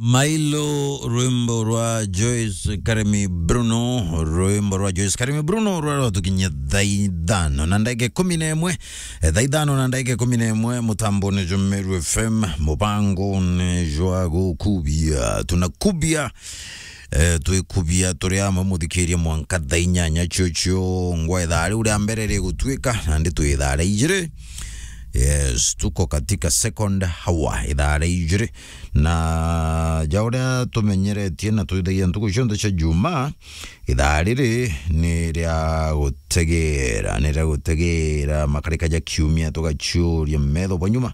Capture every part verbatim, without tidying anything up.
Mailo, rwimbo rwa Joyce Karemi Bruno, rwimbo rwa Joyce Karemi Bruno rwa rwatukinyia thaa ithano na ndagika ikumi na imwe, eh, thaa ithano na ndagika ikumi na imwe, mutambone jwa Meru F M, mubangone jwa gukubia. Tunakubia, eh, twikubia turi amwe muthikiria mwanka thaa inyanya cio cio ngwa ithaa riu ria mbere rigutuika, nandi twi ithaa ria ijiri. Yes, tuko katika second hour, ithaa ria ijiri. Na ja uria tumenyeretie na twithagia ntuku cionthe cia Jumaa, ithaa riri ni ria gutegera, ni ria gutegera makarika ja kiumia, tugaciuria metho bwa nyuma,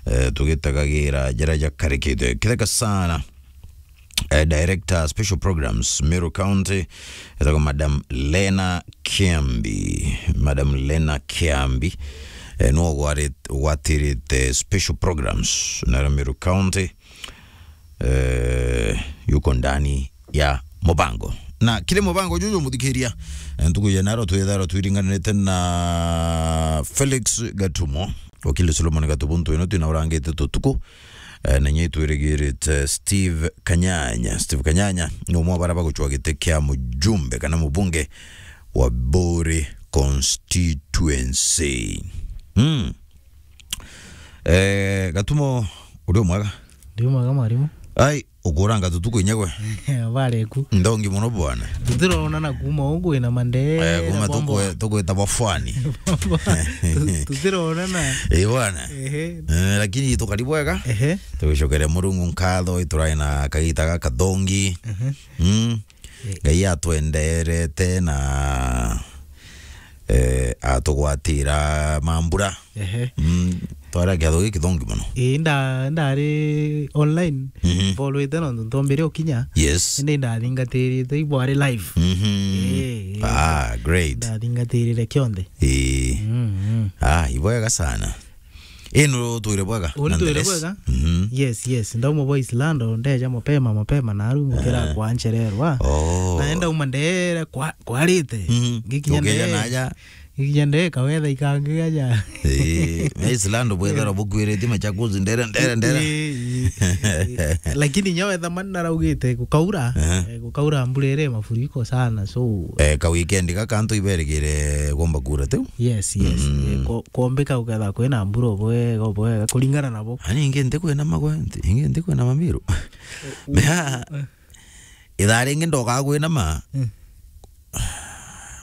eh, tugitegagira jaria jakarikite. Kitheka sana, eh, Director Special Programs, Meru County, etagwa Madam Lena Kiambi. Madam Lena Kiambi, eh, niwe ugwari-, ugwatirite Special Programs, na Meru County, eh, yuko ndani ya mubango. Na kiri mubango juju muthikiria, eh, ntuku ya naro twitharwa twiringanirite na Felix Gatumo, wakili Solomon Gatubo, ntu ino twina urangite tutuku, eh, na nyei twirigirite Steve Kanyanya. Steve Kanyanya ni umwe wa bara bagucwa giti kia mujumbe kana mubunge wa Buri constituency. Mm. Eh, Gatumo, uri umwega? Ndi umwega, mwarimu. Ai, ukuranga tutuku inyagwe. Bareku. Ndongi muno bwana. Tutironana kuma ugu ina mandee. Eh, kuma tukwe-, tukwita bafwani. Tu-, tutironana. Eh, bwana. Ehe. Eh, lakini tukari bwega. Ehe. Tugicokere Murungu nkatho, iturae na kagita gaka thongi. Ehe. Mm. Eh. Ngai atwenderete na, eh, atugwatira mambura. Ehe. Mm, twara kiatho giki thongi muno. Ii, nda-, ndari online, mhm, mbolwite nontu ntombire ukinya. Yes. Indi ndathingatirite ibwari live. Mhm. Ii, ii. Ah, great. Ndathingatirire kionthe. Ii. Mm, mm. Ah, ibwega sana. Ino twire bwega. Uni twire nonetheless. Bwega? Mhm. Yes, yes. Ndauma bwa Islando, ndeja mapema, mapema, na aru ngukira, eh, kwa nchererwa. Oh. Naenda uma ndere kwa, kwarite. Mhm. Ngikinya. Ukeja nde-, naja. Ngikinya nde kawetha ikangi gaja. Eh, me Islando bwethera bukwirite machakuzi ndere, ndere, ndere. Eh, eh, eh. Lakini nyo wetha mani naraugite gukaura, eh, eh, gukaura mbura iri mafuriko sana, so. Eh, ka weekend gaka antu iberigire gomba kura tu. Yes, yes. Mm. Eh, ko-, kombika uketha kwina mbura obwega, obwega, kuringana nabo. Ani ingi nti kwina magwe, nti-, ingi nti kwina mamiru. Mea, eh, ithaa ringi ndokaa kwina ma. Mm.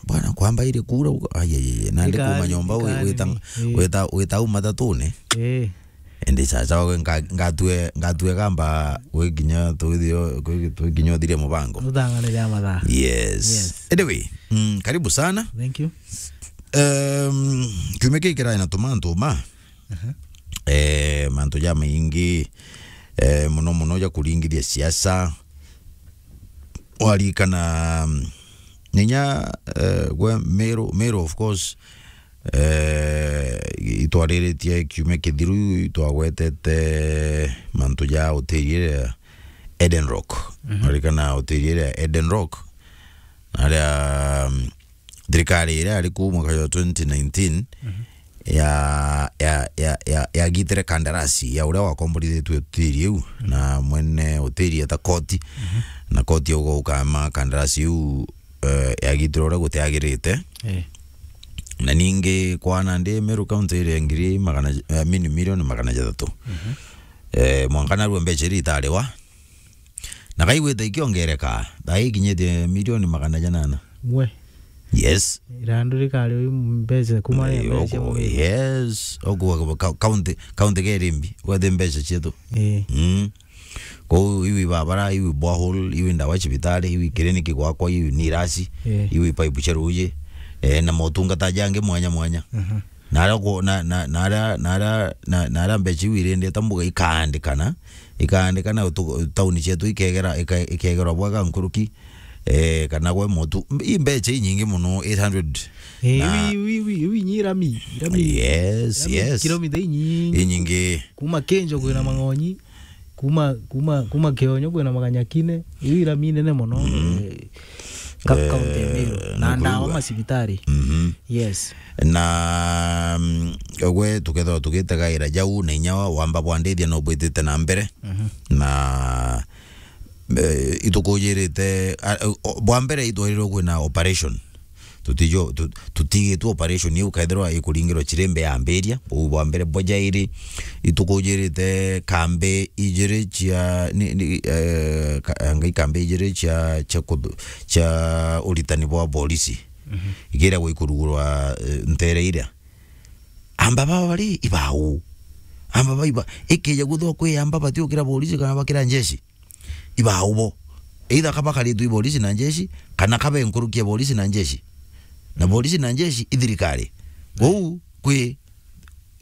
Bwana, kwamba iri kura, uga, ai, ai, ai, nandi kuma nyomba, wi-, wita, wita, wita uma tatune. Eh. Indi chacha wawe nga-, ngatue, ngatue gamba gwikinya twithio, gwi-, twikinya uthirie mubango. Uthanganire ya mathaa. Yes. Yes. Anyway, mm, karibu sana. Thank you. Um, kiumia kii kirai na tumantu ma. Aha. Eh, mantu ja maingi, eh, muno muno ja kuringithia siasa. Warikana, mm, ninya, eh, gwe Meru, Meru of course, eh, itwariritie kiumia kithiru, itwagwetete mantu ja hoteli iria Eden Rock. Mhm. Warikana hoteli iria Eden Rock, aria, mm, thirikari iria yari kuu mwaka jwa twenty nineteen, mhm, ya, ya, ya, ya, yagitire kandarasi ya uria wakomborithitue hoteli iu, mhm, na mwene hoteli eta koti, mhm, na koti yauga ukama kandarasi iu, eh, yagitire uria gutiagirite. Eh. Na ningi kwana ndi Meru County iri ngiri magana, eh, mini-, milioni magana jathatu. Mhm. Eh, mwanka narua mbeca iria itariwa. Na kaigwite ikiongereka, thaa ikinyitie milioni magana janana. Mwe. Yes. Irandu rikari uyu mbeca kuma ya. Eh, mbeca oku-, mwe. Yes. Oku ka-, county, county kerimbi, wethe mbeca cietu. Eh. Mm. Kou iwi babara, iwi borehole, iwi ndawa cibitari, iwi kiriniki gwakwa, iwi nirasi, eh, iwi paipu cia ruji, eh, na motungata jangi mwanya mwanya. Mhm. Na aria ku-, na, na, na aria, na aria, na, na aria mbeca iu irindite mbuga ikaandikana, ikaandikana tu-, tauni cietu ikegera, ika-, ikegerwa bwega nkuruki, eh, kana gwe motu. I mbeca inyingi muno, eight hundred. Eh, na iwi, iwi, iwi, iwi nyi irami, irami. Yes, irami, yes. Kilomita inyingi. Inyingi. Kuma Kinjo kwina, mm, Mang'onyi. Kuma, kuma, kuma Kionyo kwina Maganyakine, iu irami nene mono. Mm. Eh, Ka-, eh, kaunti ya Meru. Na ndawa nikuigua. Macibitari. Mhm. Yes. Na, mm, gwe tukethirwa tugitegaira jau na inya wamba bwa ndithia no bwitite na mbere. Mhm. Na, eh, itukujirite, a, o, bwa mbere itwarirwe kwina operation. Tutijo-, tu-, tutigitwe operation iu kethirwa ikuringirwa cirimbe yambiria. Buu bwa mbere. Bwa jairi, itukujirite kambi ijiri cia, ni, ni, eh, ka-, ngai kambi ijiri cia, cia kuthu-, cia uritani bwa polisi. Mhm. Ikiragwa ikurugurwa, eh, ntere iria. Amba baba bari ibau. Amba baiba. Ikija guthwa kwi amba batiukira polisi kana bakira njeshi. Ibau bo. Either kabakaritwe i polisi na njeshi, kana kabe nkuruki ya polisi na njeshi. Na polisi na njeshi i thirikari. Kou kwi,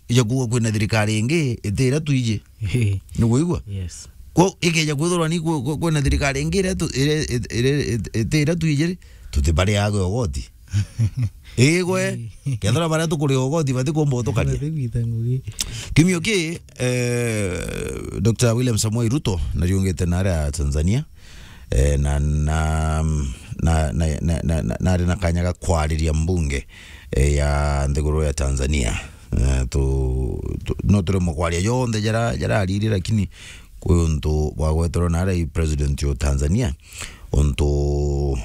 ija kuuga kwina thirikari ingi iti iria twiji. Ehe. Ni kuigua? Yes. Kwou ikeja kwithirwa ni kwi-, kwi-, kwina thirikari ingi iria tu-, iria, iria, iria, iti iria twiji ri, tutibariaga ugoti. Igwe, kethira baria tukuriga ugoti batikumba utukania. Batigwita ngugi. Kiumio ki, eh, Doctor William Samoei Ruto nariungite naria Tanzania, eh, na, na, na, na, na, na, na, nari na kanya ga kwariria mbunge, eh, ya nthiguru ya Tanzania. Eh, tu, tu, no turemwe kwaria jonthe jara, jara ariri, lakini kwi untu bwagweterwe naria i president o Tanzania, untu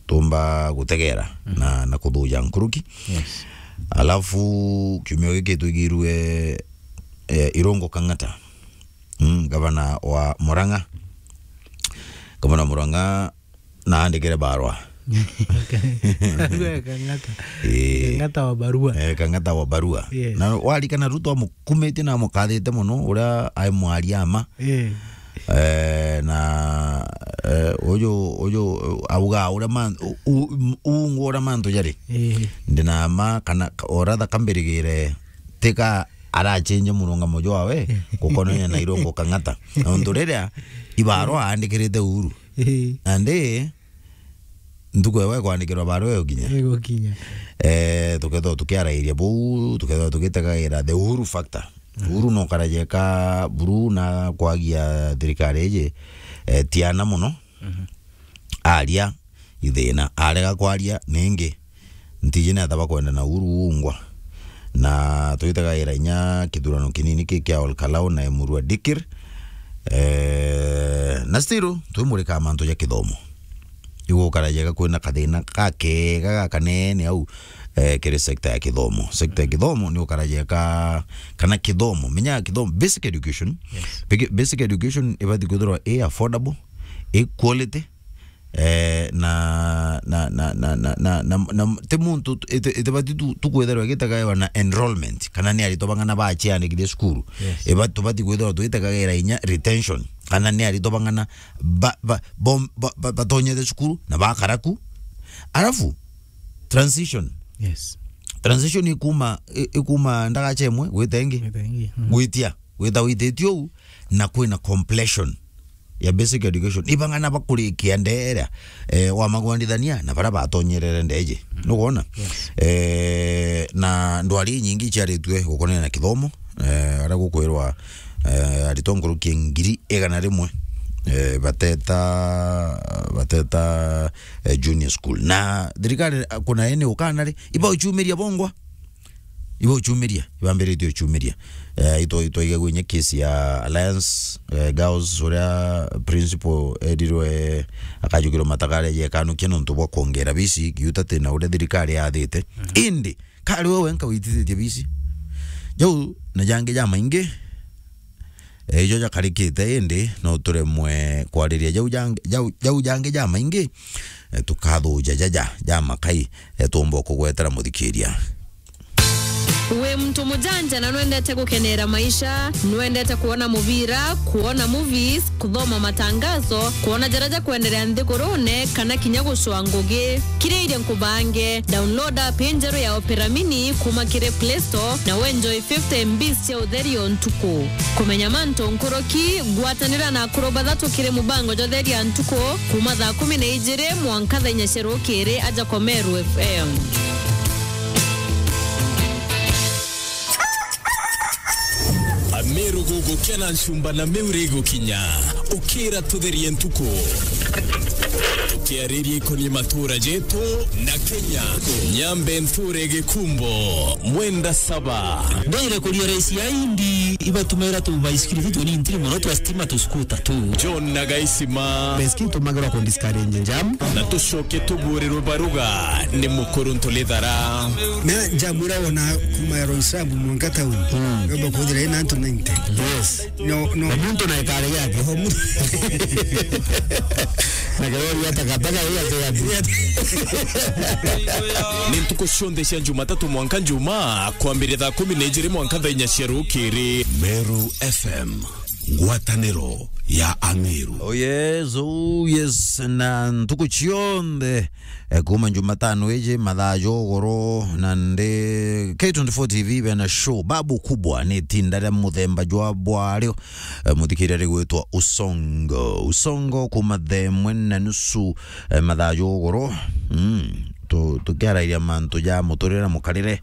tumba gutegera, mhm, na, na kuthuja nkuruki. Yes. Alafu kiumio giki twigirwe, eh, Irungu Kang'ata, mm, gavana wa Murang'a. Gavana wa Murang'a naandikire barua. Barua ya Kang'ata. Eh. Kang'ata wa barua. Eh, Kang'ata wa barua. Yes. Na warikana Ruto amukumitie na amukathite mono, uria ai mwaria ma. Eh. Eh, na, eh, uju, uju, auga uria man-, u-, u-, uungu uria mantu jari. Eh. Ndina ma kana ka-, o rather kambirigire tika arachenje murungamo jwawe gukonania na Irungu Kang'ata. Na untu riria ibarua aandikirite Uhuru. Eh. Nandi ntuku ewe kwandikirwa barua igukinya. Igukinya. Eh, tukethirwa tukiarairia buu, tukethirwa tugitegaira the Uhuru factor. Mhm. Uhuru no karajeka buru na kwagia thirikari iji, eh, tiana mono. Mhm. Aria ithina, arega kwaria ningi. Ntiji ni atha bakwenda na Uhuru uungwa. Na twitagaira inya kithurano kinini ki kia Ol Kalou na Emurua Dikir. Eh, na still twimurika mantu ja kithomo. Igukara jega kwina kathina kakega gakanene au, eh, kiri sector ya kithomo. Sector ya kithomo ni ukara jega kana kithomo, menya kithomo, basic education. Yes. Basic, basic education ibati kwithirwa i affordable, i quality, eh, na, na, na, ti muntu tu-, iti-, itibati tu, tu kwithirwa igitagairwa na enrollment, kana ni aritwa bang'ana baciandikithia cukuru. Yes. Iba-, tubati kwithirwa twitagagira inya retention, kana ni aritwa bang'ana ba, ba, bom-, ba, ba, batonyete cukuru na bakara ku. Alafu, transition. Yes. Transition ikuma, i-, ikuma ndagacha imwe gwita ingi. Gwita ingi. Mm. Gwitia. Witha wititio uu, na kwina completion ya basic education. Ibang'ana bakurikia ndeera, eh, wamagwandithania na baria batonyerere ndeeji. Mm. Nukwona? Yes. Eh, na ndwari inyingi iciaritue gukonania na kithomo, eh, aria gukwirwa, eh, aritwa nkuruki ya ngiri igana rimwe, eh, bateta, bateta, eh, junior school. Na thirikari, eh, kuna ene ukana ri, iba uchumiria bongwa. Iba uchumiria, ibambiritie uchumiria. Eh, itwa-, itwaiga gwinya case ya Alliance, eh, Girls, uria principal erirwe akajukirwa matakare jekanukia nontu bwa kwongera bisi, giuta tina uria thirikari yathite. Mhm. Indi, kari we wenka witithitie bisi. Jau na jangi jamaingi, eh, ijo jakarikite, indi no turemwe kwariria jau jang-, jau, jau jangi jamaingi, eh, tukathuja jaja, jamakai, eh, tuumba kugwetera muthikiria. Wi muntu mujanja na nwendete gukenera maisha, nwendete kuona mubira, kuona movies, kuthoma matangazo, kuona jaria jakwenderea nthigurune, kana kinya gucua ngugi? Kiriirie nkubange, download app injeru ya Opera Mini kuma kiri Play Store na wenjoy fifty M Bs cia utheri o ntuku. Kumenya mantu nkuruki, gwatanira na akuru bathatu kiri mubango jwa Utheri ya Ntuku kuma thaa kumi na ijiri mwanka thaa inya cia rukiri aja kwa Meru F M. Ameru gugukena ncumba na miuri igukinya, ukira tutherie ntuku. Kiariria ikonie matura jetu na Kenya. Nyambe nthure Gikumbo, mwenda saba. Ndeire kuria raisi ya indi ibatumaira tu baisikiri tu tuni ntiri mono twa stima tu skuta tu. John na Gaisima. Baisikiri tumagirwa ku discourage jam. Na tucoke tuburirwe baruga ni mukuru Ntulithara. Na jam ira wona kuma ya Roysambu mwanka town. Mm. Yoba kuthira ina antu ninety. Yes. No, no. Na muntu na ikare yake. Oho, muntu. Na kirori ya takataka hiyo ati ya. Ni ntuku cionthe cia Jumatatu mwanka Njumaa, kwambiria thaa kumi na ijiri mwanka thaa inya cia rukiri. Meru F M, ngwataniro ya Ameru. Oh yes, oh yes, na ntuku cionthe, eh, kuma Jumatano iji mathaa jogoro, na ndi K twenty-four T V bena show babu kubwa, ni tinda ria muthemba jwa bwario, eh, muthikiria rigwitwa Usongo. Usongo kuma thaa imwe na nusu, eh, mathaa jogoro. Mm. Tu-, tukiarairia mantu ja muturire na mukarire,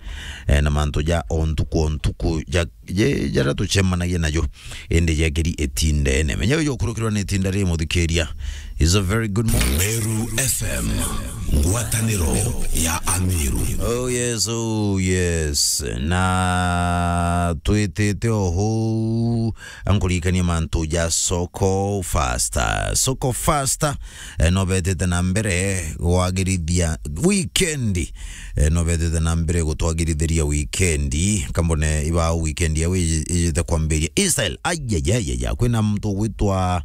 eh, na mantu ja o ntuku o ntuku ja, je-, jaria tucemanagia najo. Indi jekiri itindene. Menya uju ukurukirwa ni itinda ri muthikiria. Is a very good morning. Meru F M, ngwataniro ya Ameru. Oh yes, oh yes. Na twitite oho, ankurikania mantu ja Soko Faster. Soko Faster, eh, no betite na mbere gwagirithia weekend. Eh, no betite na mbere gutwagirithiria weekend. Kambone iba weekend yao iji-, ijite kwambiria. Israel, ayayayaya, kwina muntu ugwitwa,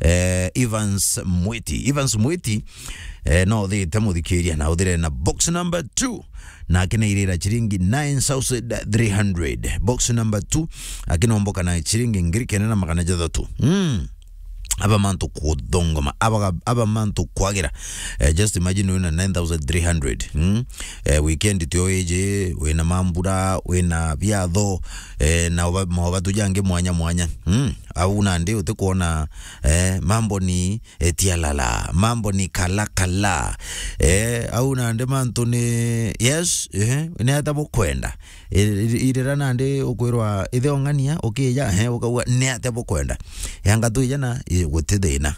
eh, Evans Mwiti. Evans Mwiti, eh, no uthite muthikiria na uthire na box number two. Na akinairira ciringi nine thousand three hundred. Box number two, akinomboka na ciringi ngiri kenda na magana jathatu. Mm. Aba mantu kuthongoma, aba, aba mantu kwagira. Eh, just imagine wina nine thousand three hundred. Mm. Eh, weekend tio iji, wina mambura, wina biatho, eh, na oba, maobatu jangi mwanya mwanya. Mm. Au nandi utikuona, eh, mambo ni etialala, mambo ni kalakala. Eh, au nandi mantu ni, yes, eh, ni ata bukwenda. I-, i-, irira nandi ukwirwa ithe ong'ania, ukija, eh, ukauga, ni ata bukwenda. Yanga twija na, i-, guti thina.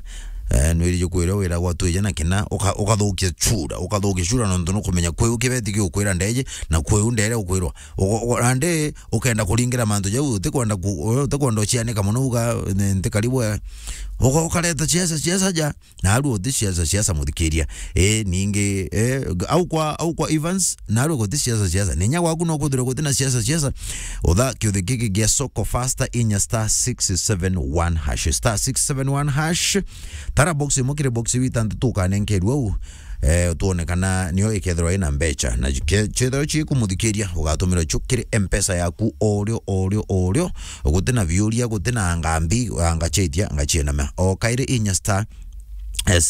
Eh, nwirije kwirwa wiragwa twija na kina, uka-, ukathukia chura, ukathukia chura nontu nukumenya kwiu kibeti giukwira ndeje, na kwiu ndere ukwirwa. Ugo-, ugo-, nandi ukenda kuringira mantu jau, utikwenda ku-, utikwenda ucianika mono, uga, ni ntikari bwe. Ugo-, ukareta ciaca, ciaca ja, na aru uti ciaca, ciaca muthikiria. Eh, ningi, eh, au kwa, au kwa Evans, na aru guti ciaca, ciaca. Ninya gwaku no kwithirwa guti na ciaca, ciaca. Utha kiuthi giki gia Soko Faster inya star six seven one hash. Star six seven one hash. Tara box imwe kiri box iu itantatu ukanenkerua u. Eh, tuone kana nio ikethirwa ina mbecha. Na ke-, chethirwa chikumuthikiria, ugatumira chu kiri M-Pesa yaku orio, orio, orio. Guti na biuria, guti na ngambi, anga chetia, anga chienama. O kairi inya star, eh,